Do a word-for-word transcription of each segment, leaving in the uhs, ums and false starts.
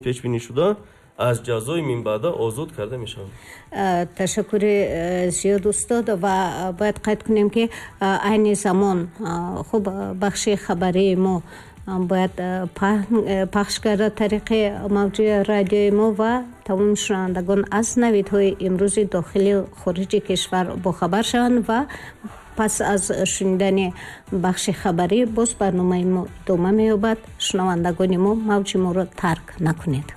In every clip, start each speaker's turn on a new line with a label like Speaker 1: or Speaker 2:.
Speaker 1: Пешбинӣ шуда аз ҷазои минбаъда озод карда мешаванд.
Speaker 2: Ташаккури зиёд, устод, ва бояд қайд кунем, ки айни замон хуб бахши хабарии мо бояд пахш гардад тариқи мавҷи радиои мо ва тамоми шунавандагон аз навидҳои имрӯзи дохилию хориҷи кишвар бохабар шаванд ва пас аз шунидани бахши хабарӣ боз барномаи мо идома меёбад. Шунавандагони мо, мавҷи моро тарк накунед.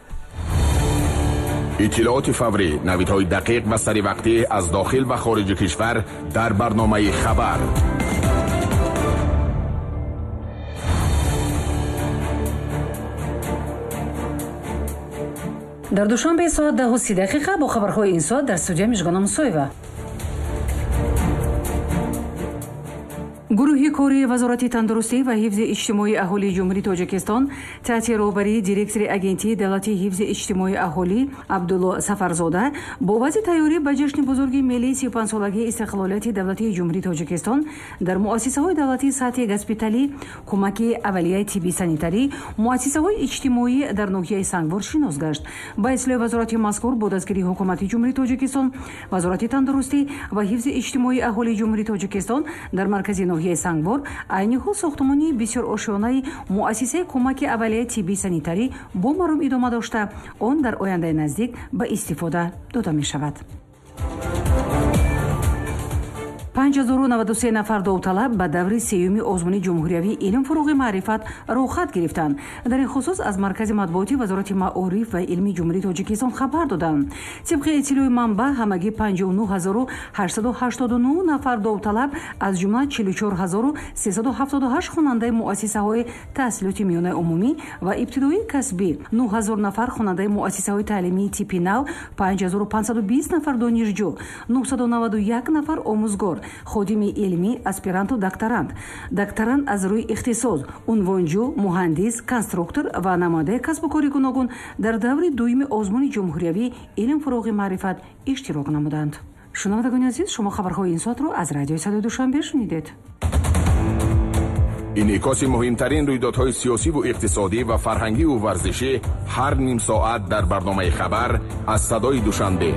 Speaker 3: Иттилооти фаврӣ, навидҳои дақиқ ва саривақтӣ аз дохил ва хориҷи кишвар дар барномаи хабар.
Speaker 4: Дар Душанбе соат даҳу си дақиқа бо хабарҳои ин соат дар студия Мижгона Мусоева. Гурӯҳи кории Вазорати тандурустӣ ва ҳифзи иҷтимоии аҳолии Ҷумҳурии Тоҷикистон таҳти роҳбарии директори Агентии давлатии ҳифзи иҷтимоии аҳолӣ Абдулло Сафарзода бо вазъи тайёрӣ ба ҷашни бузурги миллии сию панҷсолагии истиқлолияти давлатии Ҷумҳурии Тоҷикистон дар муассисаҳои давлатии сатҳи госпиталӣ, кӯмаки аввалияи тиббӣ санитарӣ, муассисаҳои иҷтимоӣ дар ноҳияи Сангвор шинос гашт. Ба иттилои вазорати мазкур, бо дастгирии Ҳукумати Ҷумҳурии Тоҷикистон, Вазорати тандурустӣ ва ҳифзи иҷтимоии аҳолии Ҷумҳурии Тоҷикистон дар маркази ноҳияи Сангвор айни ҳол сохтмони бисёрошёнаи муассисаи кӯмаки аввалияи тиббии санитарӣ бо маром идома дошта, он дар ояндаи наздик ба истифода дода мешавад. Панҷ ҳазору наваду се нафар довталаб ба даври сеюми озмуни ҷумҳуриявии «Илм, фурӯғи маърифат» роҳхат гирифтанд. Дар ин хусус аз маркази матбуоти Вазорати маориф ва илми Ҷумҳурии Тоҷикистон хабар доданд. Тибқи иттилои манбаъ, ҳамагӣ панҷоҳу нӯҳ ҳазору ҳаштсаду ҳаштоду нӯҳ нафар довталаб, аз ҷумла чилу чор ҳазору сесаду ҳафтоду ҳашт хонандаи муассисаҳои таҳсилоти миёнаи умумӣ ва ибтидоии касбӣ, нӯҳ ҳазор нафар хонандаи муассисаҳои таълимии типи нав, панҷ ҳазору панҷсаду бист нафар донишҷӯ, нӯҳсаду наваду як нафар омӯзгор, ходими илмӣ, аспиранту докторант, докторант аз рӯи ихтисос, унвонҷӯ, муҳандис, конструктор ва намояндаи касбу кори гуногун дар даври дуюми озмуни ҷумҳуриявии «Илм, фурӯғи маърифат» иштирок намуданд. Шунавандагони азиз, шумо хабарҳои ин соатро аз радиои Садои Душанбе шунидед.
Speaker 3: Инъикоси муҳимтарин рӯйдодҳои сиёсиву иқтисодӣ ва фарҳангиву варзишӣ ҳар ним соат дар барномаи хабар аз Садои Душанбе.